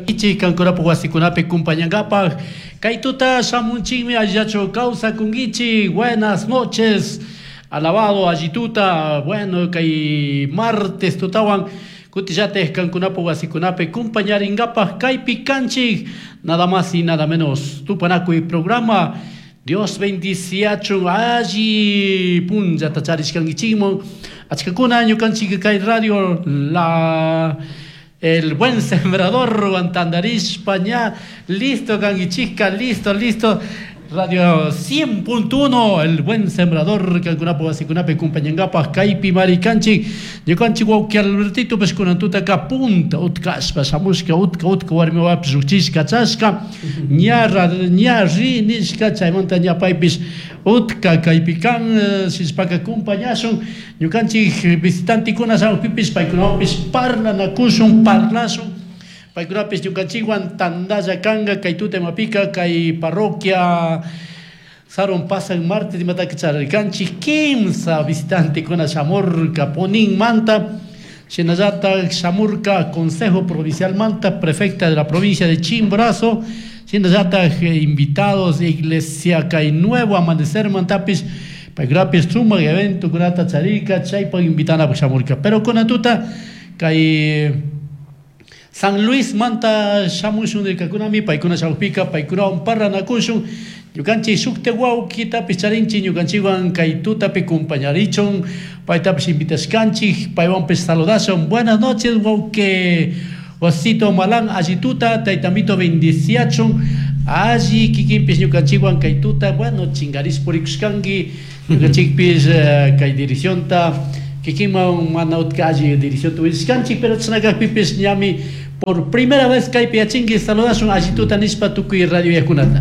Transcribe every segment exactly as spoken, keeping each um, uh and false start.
Ichi kankunapuk wasikunapi kumpañankapaj kay tuta shamunchikmi allillachu kawsakunkichik. Buenas noches, alabado allituta. Bueno, kay martes tutawan kutillatik kankunapuk wasikunapi kumpañarinkapaj kaypi kanchik, nada más y nada menos Tupanakuy programa. Dios bendiciachun, alli punllata charishkankichikman. Achkakuna ñukanchik kay radio la El Buen Sembrador tandarishpa ña listo kankichikka, listo, listo. Radio cien punto uno, El Buen Sembrador, kankunapuk wasikunapi kumpañankapaj kaypi marikanchik. Ñukanchik wawki Albertito pish kunan tutaka punta utkashpa shamushka, utka utka warmi wawapish llukchishka chashka ña ña ri nishka. Chaymanta ña paypish utka kaypi kan. Shishpaka kumpañashun. Ñukanchik visitantikuna shamukpipish paykunawanpish parlanakushun, parlashun. Paykunapis ñukanchikwan tandalla kanka. Kay tuta imapika kay parroquia Saron pasan martes imataka charirkanchik, kimsa visitantekuna shamurka Puninmanta, shinallatak shamurka Consejo Provincialmanta, prefecta de la provincia de Chimborazo, shinallatak invitados iglesia kay Nuevo Amanecer mantapish. Paykunapish sumak eventokunata charirka, chaypak invitanapak shamurka. Pero kunan tuta kay San Luis manta shamushun nirkakunami. Paykuna shamukpika paykunawan parlanakushun. Ñukanchik shukta wawkitapish charinchik ñukanchikwan kay tutapi kumpañarichun, paytapish invitashkanchik, paywanpish saludashun. Buenas noches, wawki Osito Malán, alli tuta, taytamito bendiciachun, alli kikinpish ñukanchikwan kay tuta. Bueno, chingarish purikushkanki. Ñukanchikpish kay direccionta kikinman mana utka alli direccionta willashkanchik, pero chashna kakpipish ñami por primera vez kaypi yachinki. Saludashun alli tuta nishpa tukuy radio yakunata.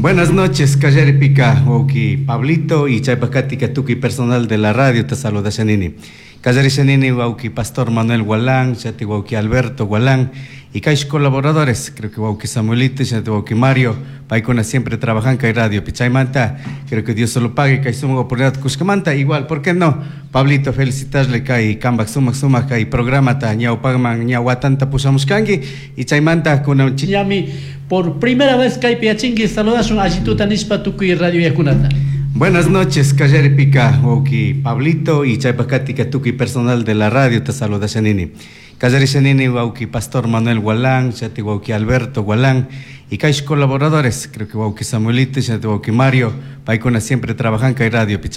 Buenas noches, Kallaripika, wawki Pablito y chaypakatika tukuy personal de la radio te saluda Shanini. Kallarishanini wawki Pastor Manuel Gualán, chati wawki Alberto Gualán y kaysh colaboradores, creo que wawki Samuelito, chati wawki Mario, paykuna siempre trabajan kay radio Pichaymanta, creo que Dios se lo pague kay sumak oportunidad kushkamanta. Igual, ¿por qué no? Pablito, felicitarle kay kambak sumak sumak kay programata ñawpakman ña watanta pushamushkanki y chaymanta kunan ñami por primera vez kaypi yachinki. Saludashun allituta nishpa tukuy radio yakunata. Buenas noches, Kallaripika, wawki Pablito y chaypakatika tukuy personal de la radio te saluda Shanini. Kallarishanini wawki Pastor Manuel Gualán, chati wawki Alberto Gualán y kaysh colaboradores, creo que wawki Samuelito, chati wawki Mario, paykuna siempre trabajan kay radio.